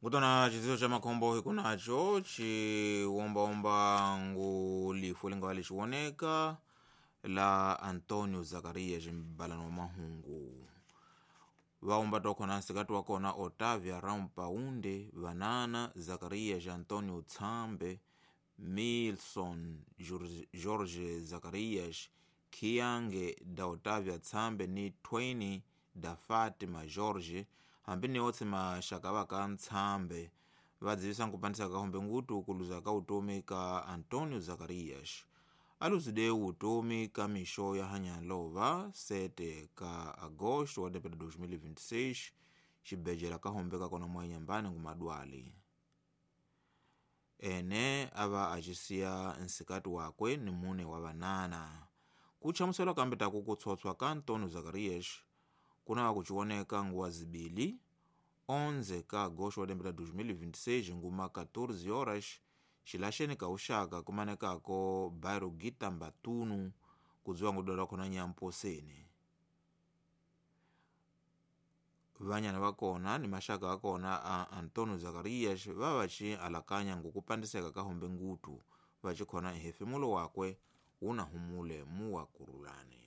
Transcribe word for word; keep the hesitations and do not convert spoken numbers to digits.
Ngutona chidziwo cha makhombo hikunacho chiwombaomba ngu lifu lingawa lichiwoneka la Antonio Zacarias mbalano wa mahungu vaomba tokhona nsikati wa kona Otávia Rampaunde vanana Zacarias Antonio Tsambe Milson Jorge Zacarias Khiange da Otávia Tsambe ni Twain da Fátima Jorge hambi ni otse maxaka va Ntsambe vadzivisa nkupandisa ka hombe ngutu kuluza ka utomi ka Antonio Zacarias aluzide utomi ka mixo ya hanyalova sete ka agosto wa dois mil e vinte e seis xibejela ka hombe ka kona mwanyambani ngumadwali ene ava acisiya nsikati wakwe ni mune wa vanana kutchamusela kambe taku kutshotswa ka Antonio Zacarias kunava kuciwoneka nguwa zibili onze ka agosto wa dois mil e vinte e seis nguma catorze horas xilaxeni ka uxaka kumanekako bairro Gitambatunu kudziwa ngudwala khona nyamposeni vanyana vakona ni maxaka akona a Antonio Zacarias vavaci alakanya ngukupandiseka ka hombe ngutu vacikhona nhefemulo wakwe wuna humule muwa kurulani.